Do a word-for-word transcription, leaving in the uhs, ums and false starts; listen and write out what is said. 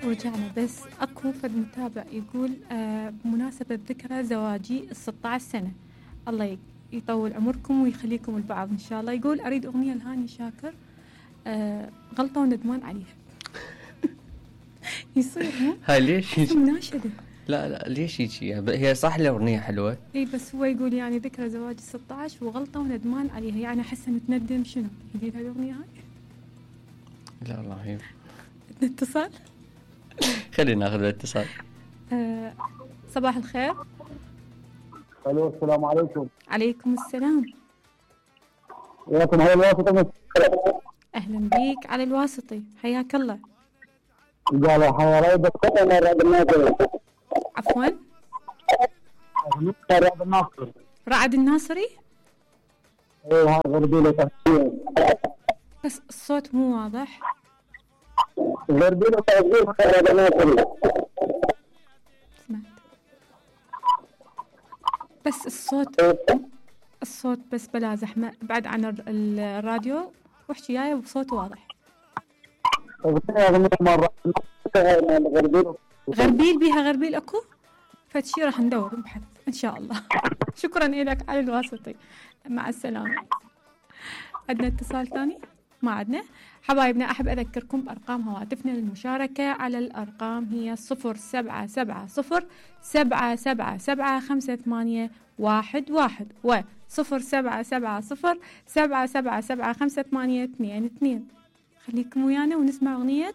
ورجعنا. بس اكو فد متابع يقول آه بمناسبة ذكرى زواجي الستة عشر سنة، الله يطول عمركم ويخليكم البعض ان شاء الله. يقول اريد اغنية لهاني شاكر آه غلطة وندمان عليها. يصير مو هاي ليش مناشدة؟ لا لا ليش يجي؟ هي صح الاغنية حلوة اي بس هو يقول يعني ذكرى زواج الستة عشر وغلطة وندمان عليها، يعني احس نتندم شنو؟ يقول هاي الاغنية هاي؟ لا والله هي نتصل. خلينا ناخذ الاتصال. آه صباح الخير. الو السلام عليكم. عليكم السلام. وياكم هاي الواسطة. اهلا بيك على الواسطي، حياك الله. قال حيا ريد القطن رعد الناصري. عفوا رعد الناصري. رعد الناصري. ايه هاي غربيلة تحسين. بس الصوت مو واضح. غربيلة تحسين رعد الناصري. سمعت بس الصوت الصوت بس بلا زحمة، بعد عن الراديو واحكي جاي بصوت واضح. غربيل بيها غربيل اكو فتشي راح ندور نبحث ان شاء الله. شكرا لك على الواسطي، مع السلامة. عندنا اتصال ثاني؟ ما عندنا. حبايبنا احب اذكركم بارقام هواتفنا للمشاركة على الارقام هي صفر سبعة سبعة صفر سبعة سبعة سبعة خمسة ثمانية واحد واحد و صفر سبعة سبعة صفر سبعة سبعة سبعة خمسة ثمانية اثنين اثنين. خليكم ويانا ونسمع اغنية